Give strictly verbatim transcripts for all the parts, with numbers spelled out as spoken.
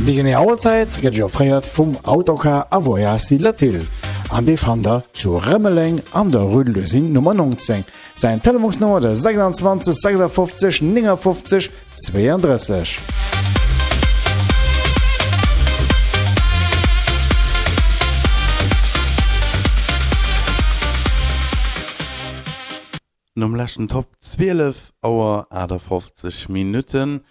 Déi genee Auerzäit gëtt Iech offréiert vum Autocar a Voyages Latil an dee fannt der zu Rëmeleng an der Rue de l'Usine Nummer neunzéng. Säin Telefonsnummer de sechsundzwanzeg sechsundfünfzig neunundfünfzig zweiunddrësseg. Nom leschten Top zwielef Auer aachtafofzeg Minutten.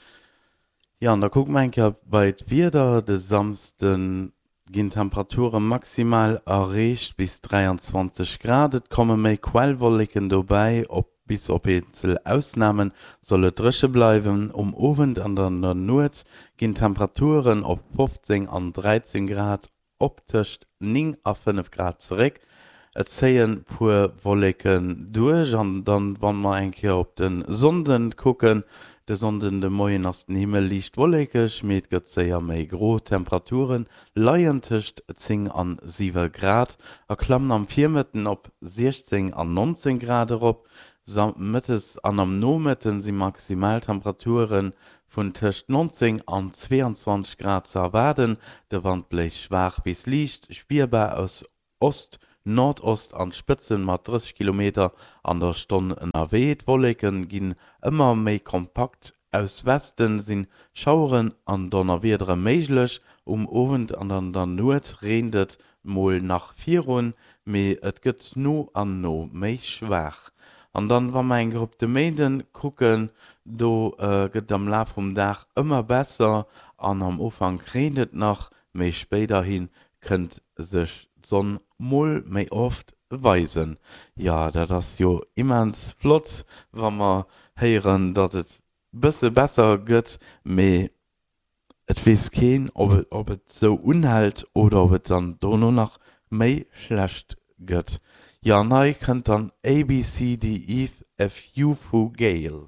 Jo, an da kucke mer eng Kéier bei d'Wieder. De Samsde ginn d'Temperature maximal erreecht bis dräianzwanzeg Grad. Et komme méi Quellwolleken dobäi, op bis op eenzel Ausname soll et dréche bleiwen. Um Owend an an der Nuet ginn d'Temperaturen op fofzéng an dräizéng Grad op tëscht néng a fënnef Grad zeréck. Et zéien puer Wolleken duerch an dann, wann mer eng Kéier op de Sonnden kucken, de Sonnden de Moien ass den Himmel liicht wollekeg, mee et gëtt séier méi gro. D'Temperature leien tëscht zéng an siwe Grad a klammen am Virmëtten op siechzéng an nonzéng Grad erop. Mëttes an am Nomëtten si Maximaltemperature vun tëscht nonzéng an zweeanzwanzeg Grad ze erwaarden. De Wand bléist schwaach bis liicht spierbar aus Ost, Nordost an d'Spëtzen mat drësseg Kilometer an der Stonn ënnerwee. D'Wolleke ginn ëmmer méi kompakt, aus Westen si Schaueren an Donnerwiedere méiglech. Um Owend an an der Nuet reent et mol nach virun, mee et gëtt no an no méi schwaach. An dann, wa mer eng Kéier op de Méinden kucken, do gëtt et am Laf vum Dag ëmmer besser an am Ufank reent et nach, méi spéiderhi kënnt sech d'Sonn mol méi oft weisen. Jo, dat ass jo immens flott, wa mer héieren, datt et bësse besser gëtt, mee et weess keen, ob et, ob et sou unhält oder ob et dann dono nach méi schlecht gëtt. Jo, an hei kënnt dann A B C D E F U vu Gail.